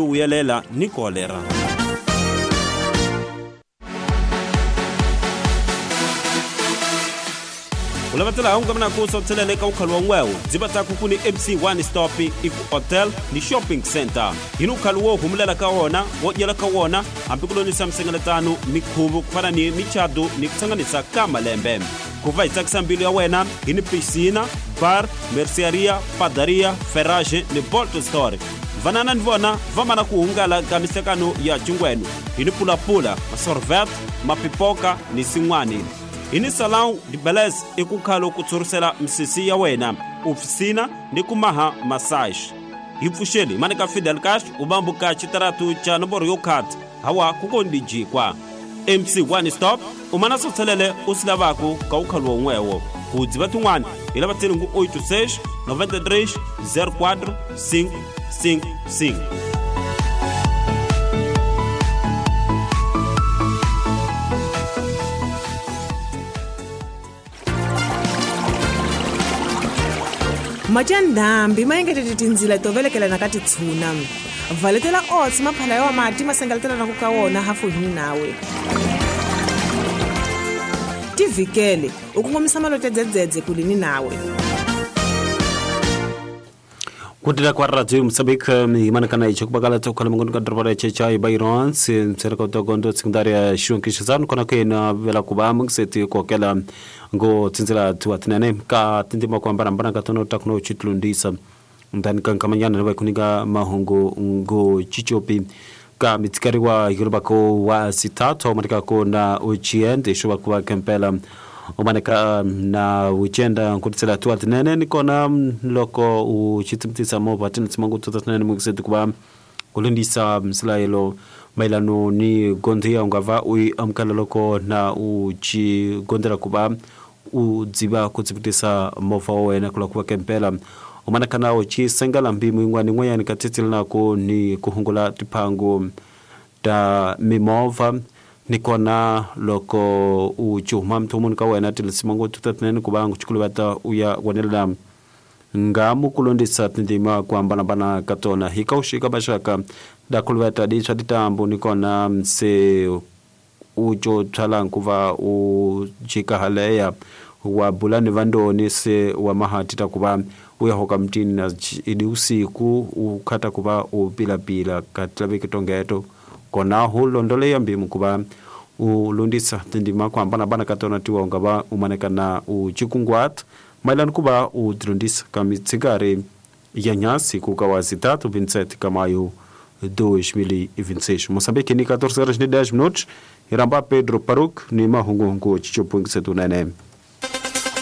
Vuyelela ni kolera. U lava tsela hunga mina ku sotselele ka ukhalo wa ngwewo dziva ta ku ni MC One Stop i ku hotel ni shopping center hi ni ukhalo wo humulela ka wona wo dyela ka wona hambi ku lonisa misengeletano mikhuvo ku fana ni michado ni ku hlanganisa ka malembe ku va hi tsakisa mbilu ya wena hi ni piscina bar merciaria padaria ferrage ni bolt store vanana ni vona va mana ku hungala ka mihlekano ya cingweno hi ni pulapula masorvet mapipoka ni sin'wani hi ni salon de belez i ku khalo ku tshurisela misisi ya wena ofisina ni ku maha massage hi pfuxeli mani ka Fidel Castro u bambuka xitaratu xa nomboro yo khat hawa ku kondi jikwa MC One Stop u mana sotselele u swi lavaku ka ukhalo won'wewo ku dziva tin'wana hi lava tselingu 86 93 04 5 5 5. Mati ya ndhambi ma engetete tindzila to velekelana ka titshuna. Valetela oats maphala ya mati ma sengeletelana ku ka wona hafu hini nawe. Tivhikele u kongomisa malote dzedzedze kulini nawe. Kutila kwa radio Mozambique imana kana icho kubakala tokhala mungu ka doroba la checha ibairons serka togondo secundária João kona ke na vela kuba mungiseti kokela ngo tsinzela tuatinene ka tindima kwa mbarambara ka tono takuno chitlundisa ndani kankamanyana na kuninga mahungu ngo chichopi ka mitsikariwa yorubako wa sitato manika ko na uchiende shuba kuba kempela umaneka na uchenda nkutsela tuatinene nikona loko uchitimtisa mova tintsimangu tuatinene mungiseti kuba kulindisa msilayelo mailano ni gondia ungava ui amkala loko na uchi gondera kuba udziba kutsipitisa mova wena kula kuba kempela umanaka uchi sengala mbimu ingwani ngwayani katitila ko ni kuhungula tipango ta mimova nikona loko uchuma mthumuni ka wena tilisimango tutatnene kuba nguchikulubata uya wanela ngamu kulondisa tindima kuambanabana katona hikaushika bashaka dakulubata dicha ditambu nikona mse ucho thalankuva ujika haleya wa bulani vandoni se wa mahati takuba uyahoka mtini na idi usiku ukhata kuba upilapila katlabeke tongeto kona hulondole yambimu kuba ulundisa tindima kuambana bana katona tiwa ungaba umanekana uchikungwat mailani kuba udrundisa kamitsigari ya nyasi kukawazi 3 27 kamayo 2026. Moçambique ni 14 horas e 10 minutos. Iramba Pedro Paruk ni mahungu chichopung setunene.